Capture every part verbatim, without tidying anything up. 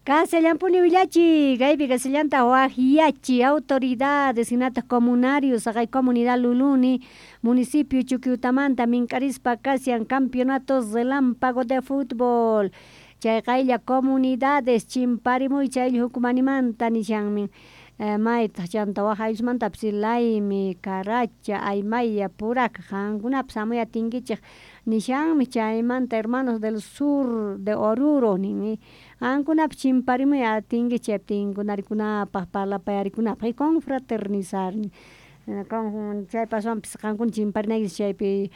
Kashallampuni willachi kaypi kashallanta waqyachi autoridades hinataq comunarios haqay comunidad Luluni municipio Chuquiutamanta mink'arispa kashan campeonato relámpago de fútbol chay qaylla comunidades chimparimuy chay hukmanimanta nishanmi maytaq chanta wak ayllusmantapis Laymi, Caracha, Aymaya, Puraka qankunapis hamuy atinkichik nishanmi chaymanta hermanos del sur de Oruro ninmi qankunapis chimparimuy atinkichik chaypi tinkunarikunapaq parlapayarikunapaq y confraternizar chaypi aswanpis qankuna chimparinaykichik chaypi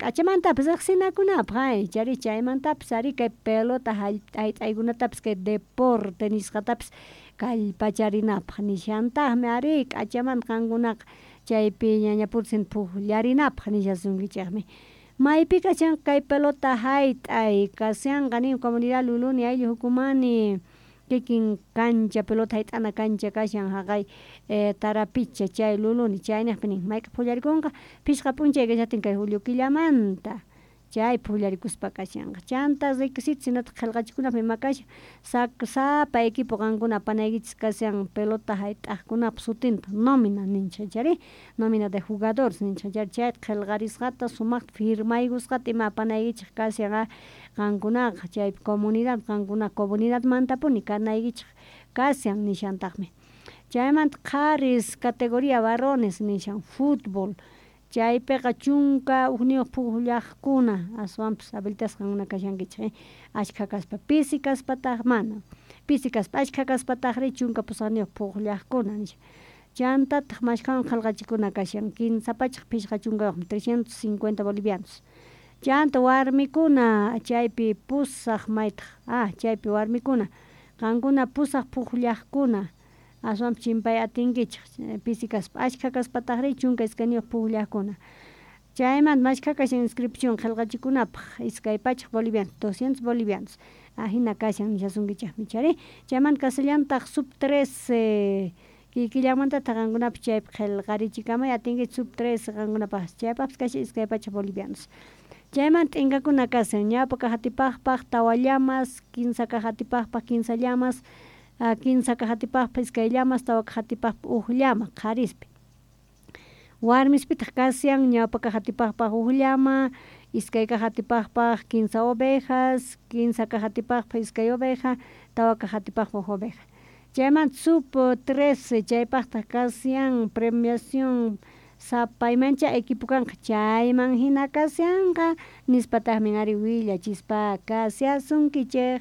k'achamantapis riqsinakunapaq ay chari chaymantapis ari kay pelota hayt'aykunatapis kay deporte nisqatapis kallpacharinapaq nishantaqmi ari k'achamanta qankunaqa chaypi ñañapursin pukllarinapaq nishasunkichikmi maypi kashan kay pelota hayt'ay kashanqa nin comunidad Luluni ayllu hukumani kikin kancha pelota hayt'ana kancha kashan haqay Tarapicha chay Luluni chayniqpi nin mayk'aq pukllarikunqa phishqa p'unchay kashatin kay julio killamanta chay pukllarikuspa kashanqa chanta requisitos hinataq qillqachikunapaq ima kashan sapa equipo qankuna apanaykichis kashan pelota hayt'aqkunapaq sutinta nómina ninchik chayri nómina de jugadores ninchik chayri chayta qillqarisqata sumaqta firmaykusqata ima apanaykichik kashan qankunaqa chaypi comunidad qankuna comunidadmantapuni kanaykichik kashan nishantaqmi chaymanta qharis categoría varones nishan fútbol chaypiqa chunka ukniyuq pukllaqkuna aswanpis habilitasqa qankuna kashankichik ashkha kaspa pisi kaspataq mana pisi kaspa ashkha kaspataqri chunka pusaqniyuq pukllaqkuna nisha chantataq mashkhawan qillqachikuna kashan kinsa pachak phishqa chunkayuqmi trescientos cincuenta bolivianos chanta warmikuna chaypi pusaq maytaq ah chaypi warmikuna qankuna pusaq pukllaqkuna aswanpis chimpay atinkichik pisi kaspa ashkha kaspataqri chunka iskayniyuq pukllaqkuna chaymanta mashkha kashan inscripción qillqachikunapaq iskay pachak bolivianos doscientos bolivianos ajina kashan nishasunkichikmi chayri chaymanta kashallantaq sub trece kikillanmantataq qankunapis chaypi qillqarichikamay atinkichik sub trece qankunapaq chaypaqpis kashan iskay pachak bolivianos chaymanta t'inkakuna kashan ñawpa kaq atipaqpaq tawa llamas kinsa kaq atipaqpaq kinsa llamas kinsa kaq atipaqpaq iskay llamas tawa kaq atipaqpaq huk llama qharispi warmispitaq kashan ñawpa kaq atipaqpaq huk llama iskay kaq atipaqpaq kinsa ovejas kinsa kaq atipaqpaq iskay oveja tawa kaq atipaqpaq huk oveja chaymanta sub trece chaypaqtaq kashan premiación sapa imancha equipo kanqa chayman hina kashanqa nispataqmi ari willachispa kashasunkichik.